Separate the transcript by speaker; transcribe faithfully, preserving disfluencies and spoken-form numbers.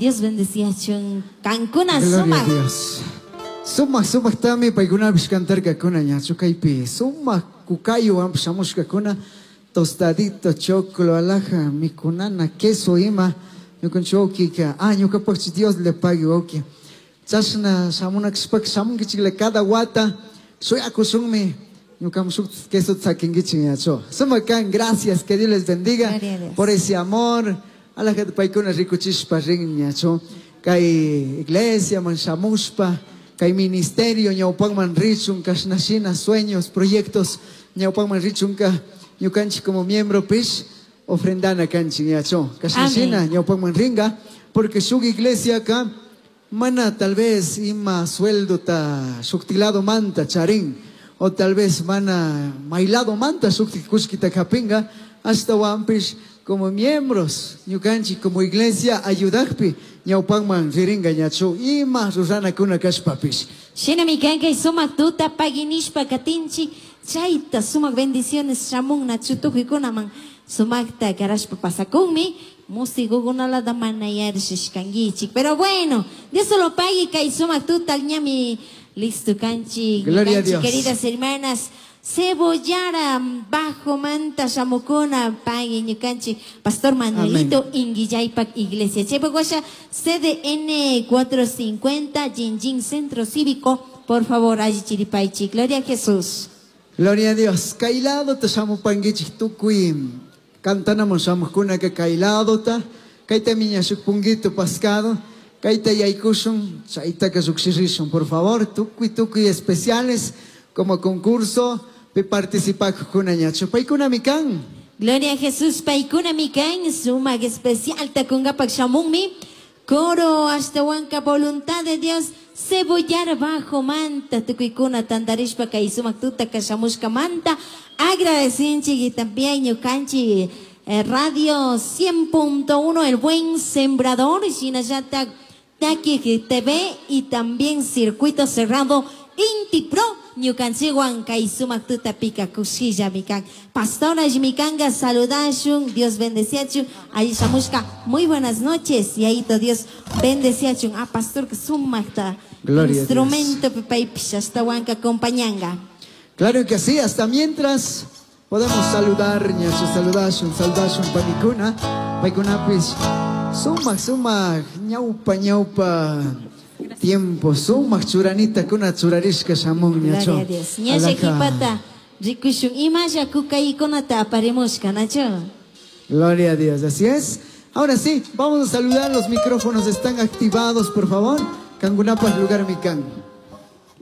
Speaker 1: Dios bendeciachun kankuna
Speaker 2: Gloria a
Speaker 1: sumak.
Speaker 2: Dios. Sumak sumak tami paykunapish cantarkakuna ñachu kaypi sumak kukaywan shamushkakuna tostadito choclo alhaja mikunana queso ima ñukanchik wawkika ah ñukapakchi Dios le pague wawki chashna shamunakashpaka shamunkichikla cada wata shuyakushunmi ñukaman shuk queso sakinkichik ñachu sumak kan gracias que Dios les bendiga
Speaker 1: Gloria a Dios.
Speaker 2: por ese amor alhajata paykuna rikuchishpa rin ñachu kay iglesia man shamushpa kay ministerio ñawpakman richun kashnashina sueños proyectos ñawpakman richunka ñukanchik como miembro pish ofrendana kanchik ñachu kashnashina
Speaker 1: Amén.
Speaker 2: ñawpakman ringa porque shuk iglesia ka mana tal vez ima sueldo ta shuktilado manta charin o tal vez mana mailado manta shukti kushkita kapinga hasta wampish como miembros ñukanchik como iglesia ayudakpi ñawpakman riringa ñachu ima ruranakuna kashpapish.
Speaker 1: Shinami kankay sumak tuta paginishpa katinchik chayta sumak bendiciones shamun nachu tukuykunaman sumakta karashpa pasakunmi musikukunalata mana yarishishkankichik pero bueno Dios lo pague kay sumak tuta ñami listo kanchik.
Speaker 2: Gloria a
Speaker 1: Ñukanchik,
Speaker 2: Dios.
Speaker 1: queridas hermanas Cebollara bajo manta shamukuna pague ñukanchik Pastor Manuelito Inguillaypac Iglesia Chaypakwasha C D N cuatro cincuenta Jinjin Centro Cívico por favor allí chiripaichi Gloria a Jesús.
Speaker 2: Gloria a Dios. Kailado ta shamupankichik tukuy cantanamos shamukuna que kailado ta kayta miña shuk punguito pascado kayta yaykushun chaytaka lluqshirishun por favor tukuy tukuy especiales como concurso pi participakuna ñachu paykuna mi kan.
Speaker 1: Gloria a Jesús paykuna mi kan sumak especial takungapak shamunmi coro hasta huanca voluntad de Dios cebollar bajo manta tukuykuna tantarishpa kay sumak tuta kashamushka manta agradecinchik y también ñukanchik, eh, Radio cien punto uno El Buen Sembrador shinallata Taki T V y también Circuito Cerrado Inti Pro ñukanchikwan kay sumak tuta pika kushilla mikan pastora mikanga saludashun Dios bendeciachun allí shamushka muy buenas noches y ahí Dios bendeciachun a pastor que sumakta
Speaker 2: Gloria a Dios.
Speaker 1: instrumento pipaipish hasta huanca acompañanga.
Speaker 2: Claro que sí, hasta mientras podemos saludar ñachu saludashun saludashun panikuna paykunapis sumak sumak ñawpa ñawpa tiempo sumak churanita kuna churarishka shamun ñachu.
Speaker 1: Gloria a Dios. Ñasha
Speaker 2: Alaka.
Speaker 1: kipata rikushun imasha kukaykunata aparimushka nachu.
Speaker 2: Gloria a Dios, así es. Ahora sí, vamos a saludar, los micrófonos están activados, por favor. Kangunapas lugar mikan.